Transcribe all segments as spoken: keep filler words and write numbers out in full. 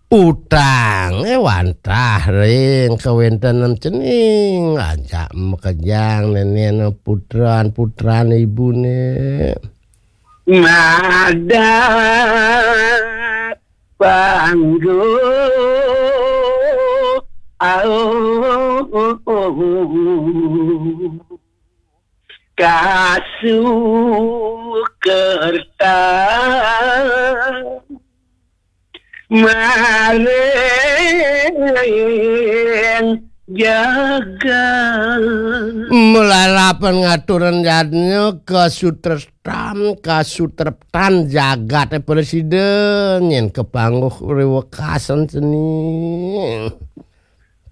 Utangé wantah ring kawéntenan cening, ajak makejang nénénan putran-putran ibuné. Madat panggung. Au. Kasukerta maring jagat. Malalapan ngaturan yadnya kasutrestan, kasutreptan jagaté prasida, nyén kapanggih ri wekasan seni.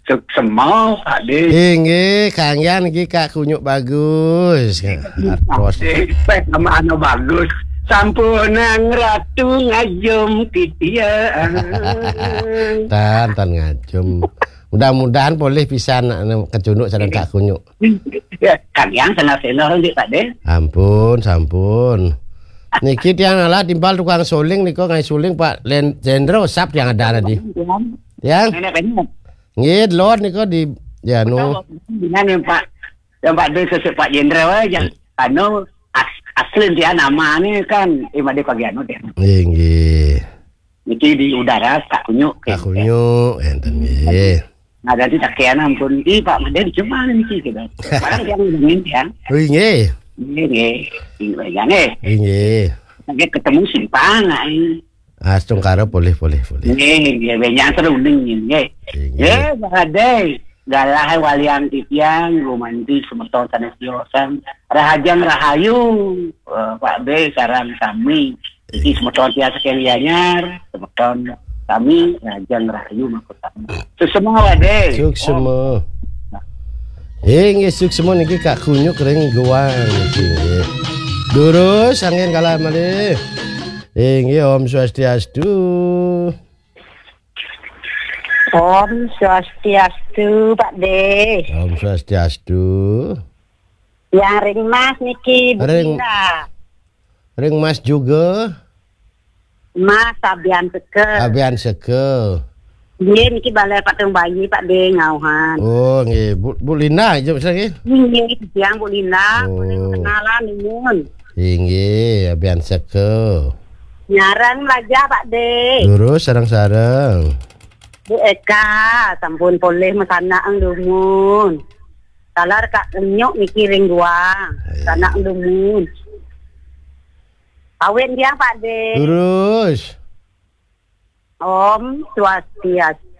Suksema, Pak Dé. Inggih, kanggihan niki Kak Kunyuk Bagus. Artos. Pak Dé, peh nama anu bagus. Sampunang ratu ngajum titiang. Tan, tan ngajum. Mudah-mudahan polih pisan anu kacunduk sareng Kak Kunyuk. Ya, kanggihan sanes-senes nggih, Pak Dé. Ampun, sampun. Niki tiang alah timpal tukang suling nika ngai suling Pak Len-, Jendro sap tiang ada tadi. Tiang. Nenek, nenek. Nggih, delod nika di, ya, anu. Dengan yang Pak, yang Pak Dé sesek Pak Jenderal aja. Anu, as-, asli dia nama ni kan, eh, Made Pagiano dia. Nggih, nggih. Niki di udara, Kak Kunyuk. Kak Kunyuk, enten nggih. Nah, jadi tak kian ampun, "Ih, Pak Made, cuma niki," gitu. Paling yang ngomongin, ya. Nggih, nggih. Nggih, nggih. Nggih, nggih. Nggih, nggih. Lagi ketemu simpang, ai. Astungkara polih, polih, polih. Nggih, nggih, benjang seruning, nggih. Nggih. Nggih, badai. Galah walian titiang, gumanti semeton sanes tiosan. Rahajeng rahayu, eh, Pak B, sareng sami. Iki semeton tiang saking Gianyar, semeton sami, rahajeng rahayu mangko sami. Suksema, Pak B. Suksema. Eh, nggih, suksema niki Kak Kunyuk ring Goang niki, nggih. Durus, angin kalah malih. Inggih, Om Swastiastu. Om Swastiastu, Pak De. Om Swastiastu. Yang ring Mas niki, Bu Ring, Linda. Ring Mas juga. Mas Abian Seke. Abian Seke. Nggih, niki Balai Patung Bayi, Pak De, ngauhan. Oh, nggih. Bu, Bu Linda, jawab saya, nggih. Nggih, yang Bu Linda, oh, boleh kenalan, nuwun. Inggih, Abian Seke. Nyareng lajah, Pak De. Lurus, sareng-sareng. Bu Eka, sampun polih masanak dumun. Taler Kak Kunyuk niki ring Goang. Iya. Sanak dumun. Awit tiang, Pak De. Lurus. Om Swastiastu.